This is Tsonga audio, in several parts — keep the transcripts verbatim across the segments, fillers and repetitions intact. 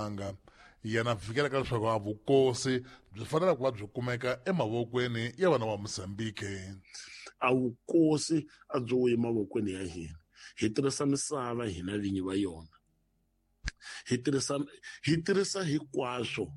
Mpumalanga. Yena fikela ka leswaku a vukosi byi fanele ku va byi kumeka emavokweni ya vana va Mozambique. A vukosi a byi wuyi mavokweni ya hina. Hi tirhisa misava hina vinyi va yona. Hi tirhisa hi tirhisa hinkwaswo.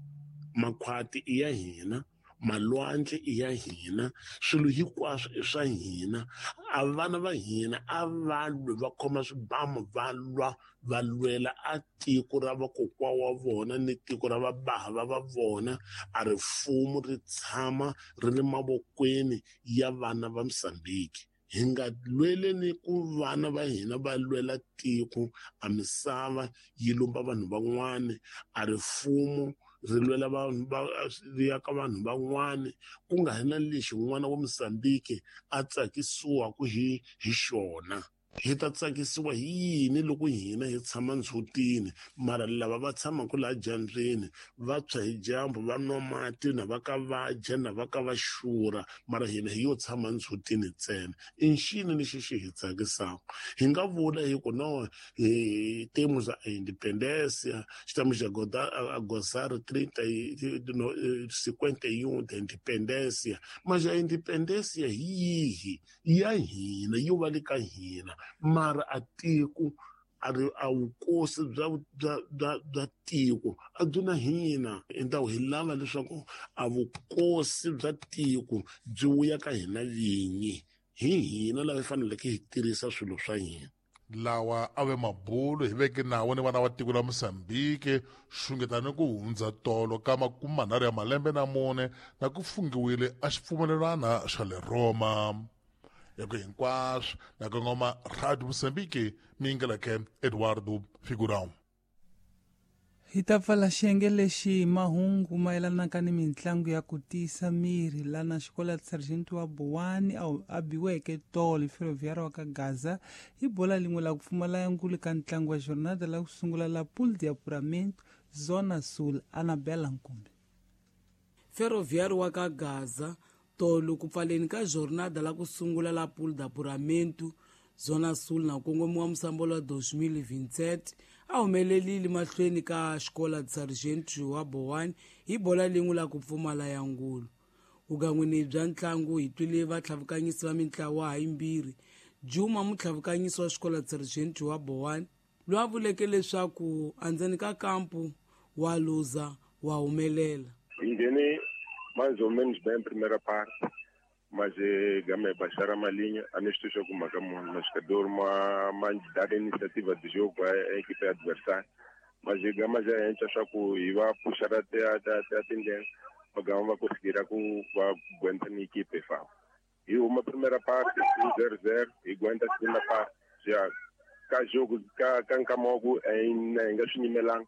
Makhwati i ya hina, malwandle i ya hina, swilo hinkwaswo i swa hina. A vana va hina a va lwi va khoma swibamu va lwa va lwela a tiko ra vakokwa wa vona ni tiko ra vabava va vona. A ri mfumo ri tshama ri le mavokweni ya vana va Mozambique. Hi nga lweleni ku vana va hina va lwela tiko, a misava yi lumba vanhu van'wani, a ri mfumo ri lwela vanhu va ri ya ka vanhu van'wani, ku nga ri na lexi n'wana wa Mozambique a tsakisiwaka hi hi xona. Hi ta tsakisiwa hi yini loko hina hi tshama ndzhutini, mara lava va tshamaka laha dyambyini va tshwa hi dyambu, va nwa mati, na va ka va dya, na va ka va xurha, mara hina hi yo tshama ndzhutini ntsena. I ncini lexi xi hi tsakisaka? Hi nga vula hi ku no, hi temos a independência, estamos a goda-, a gozar trinta e, no, cinquenta e um da independência, mas a independência hi yihi? Ya hina, yo va le ka hina. Mara a tiko a ri a vukosi bya, bya, bya, bya tiko a byi na hina. Endawo hi lava leswaku a vukosi bya tiko byi vuya ka hina vinyi, hi hina lava hi faneleke hi tirhisa swilo swa hina. Lawa a ve mabulu hi veke nawu ni vana va tiko la Mozambique xungetani ku hundza tolo ka makume manharhu ya malembe na mune na ku fungiwile a xipfumelelwana xa le Roma. Ya ku hinkwaswo na kongoma Radio Mozambique, mi yingeleke Eduardo Figurão. Hi ta pfala xiyenge lexi hi mahungu mayelanaka ni mitlangu ya ku tiyisa miri lana xikola Sargento wa Bowani a biweke tolo hi Ferroviário wa ka Gaza hi bola lin'we la ku pfumala ya ngulu ka ntlangu wa jornada la ku sungula la Pool de Apuramento Zona Sul. Anabela Nkumbi. Ferroviário wa ka Gaza tolo ku pfaleni ka jornada la ku sungula la Pool de Apuramento Zona Sul na kongomiwa musambolo wa dois mil e vinte e sete a humelelile mahlweni ka xikola de Sargento wa Bowani hi bola lin'we la ku pfumala ya ngulu. Vugan'wini bya ntlangu hi twile vatlhavukanyisi va mintlawa hayimbirhi. Juma mutlhavukanyisi wa xikola de Sargento wa Bowani loyi a vuleke leswaku endzeni ka kampu wa luza wa humelela. Hi nghene mais ou menos bem primeira parte, mas eh, gama é baixar a malinha, a nós temos alguma mão, mas jogador uma mais dar iniciativa de jogo à, à equipe adversária, mas gama já entra só que iba puxar até até até a tendência, mas gama vai conseguir a com vai aguentar na equipe fa. E uma primeira parte zero zero e aguenta a segunda parte já cá jogo cá cá nkamogo em em gashinyimelang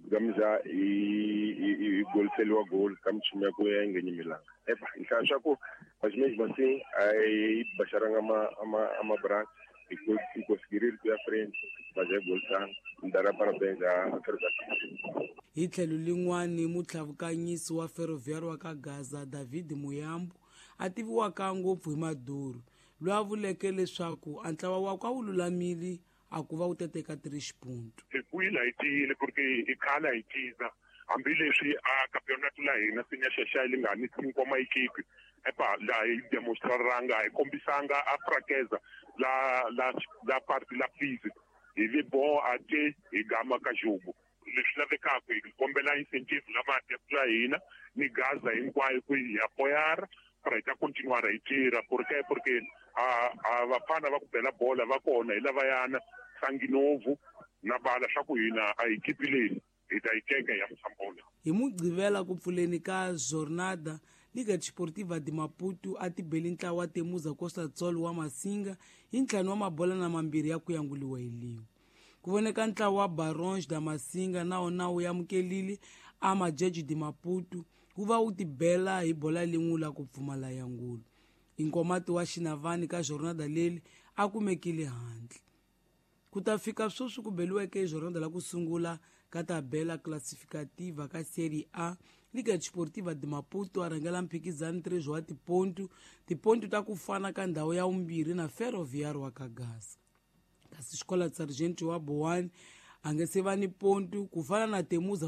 gama já e e e gol selo gol kam chimia ku ya ngenyimilanga. Epa, então só que mas mesmo assim aí baixaram ama ama ama braço e e conseguiram ir à frente, mas é gol tá, dará parabéns à Ferroviário. Hi tlhelo lin'wani mutlhavukanyisi wa Ferroviário wa ka Gaza David Muyambo a tiviwaka ngopfu hi Maduro loyi a vuleke leswaku a ntlawa wakwe a wu lulamile a ku va wu teteka três pontos. Hi vuyile hi tiyile porque i khale hi ciza hambileswi a campeonato la hina se nyaxaxa li nga ni cinco ma equipe epa la hi demonstraranga hi kombisanga a fraqueza la la la parte la física hi vi bo a te hi gama ka jogo leswi lavekaka hi kombela incentive la mati la hina ni Gaza hinkwayo ku hi apoiar para hi ta continuar hi tirha porque porque a a vafana va ku bela bola va kona hi lavayana Sanginovu na bala swa ku hina a hi equipe leyi hi ta yi teka ya Msambola. Hi Mugqivela ku pfuleni ka jornada Liga Desportiva de Maputo a tibeli ntlawa Temuza Costa Tsol wa Masinga hi ntlhanu wa mabola na mambirhi ya ku yanguliwa hi lin'we. Ku voneka ntlawa wa Barões da Masinga na wona wu amukelile a Majeji de Maputo wu va wu tibela hi bola lin'we la ku pfumala ya ngulu. Inkomati wa Xinavani ka jornada leri a kumekile handle. Ku ta fika sweswi ku beliweke jornada la ku sungula ka tabela classificativa ka Série A, Liga Desportiva de Maputo a rhangela mphikizano três wa tipontu, tipontu ta ku fana ka ndhawu ya vumbirhi na Ferroviário wa ka Gaza. Kasi Xikola Sargento wa Bowani a nge se va ni pontu ku fana na Temuza